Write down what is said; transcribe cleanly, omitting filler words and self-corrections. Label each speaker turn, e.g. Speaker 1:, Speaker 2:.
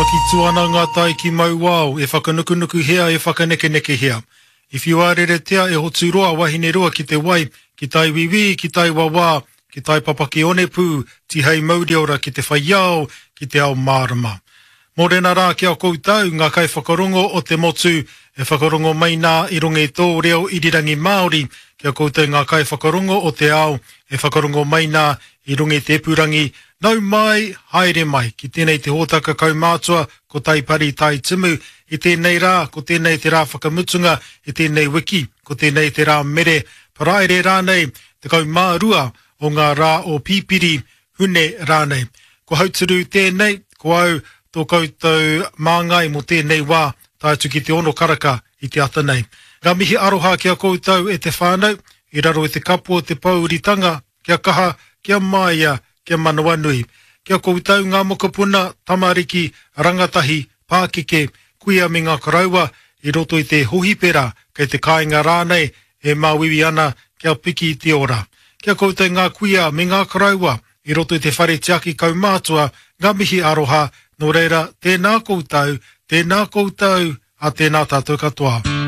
Speaker 1: Pakitu ana ngā tai ki Mauao, e whakanukunukuhia, e whakanekenekehia. I whiuāreretea e Hoturoa Wahineroa ki te wai, ki tai wīwī, ki tai wawā, ki tai papaki onepū, tihei mauriora ki te whai ao, ki te ao mārama. Mōrena rā ki a koutou, ngā kaiwhakarongo o te motu, e whakarongo mai nā i runga i tō reo irirangi Māori, ki a koutou ngā kaiwhakarongo o te ao, e whakarongo mai nā i runga i te ipurangi, nau mai, haere mai, ki tēnei te hōtaka kaumātua ko Taipari Tai Timu, i tēnei rā, ko tēnei te rā whakamutunga i tēnei wiki, ko tēnei te rā mere, Paraire rānei, 12 o ngā rā o Pipiri, Hune rānei. Ko Hauturu tēnei, ko au tō koutou māngai mō tēnei wā, tae atu ki te ono karaka i te ata nei. Ngā mihi aroha ki a koutou e te whānau, i raro i te kapu o te pōuritanga, kia kaha, kia māia, kia manawanui. Ki a koutou ngā mokopuna, tamariki, rangatahi, pākeke, kuia me ngā koroua, i roto i te hohipera, kei te kāinga rānei, e māuiui ana kia piki te ora. Ki a koutou ngā kuia me ngā koroua i roto i te whare tiaki kaumātua, ngā mihi aroha, nō reira, tēnā koutou, tēnā koutou, a tēnā tātou katoa.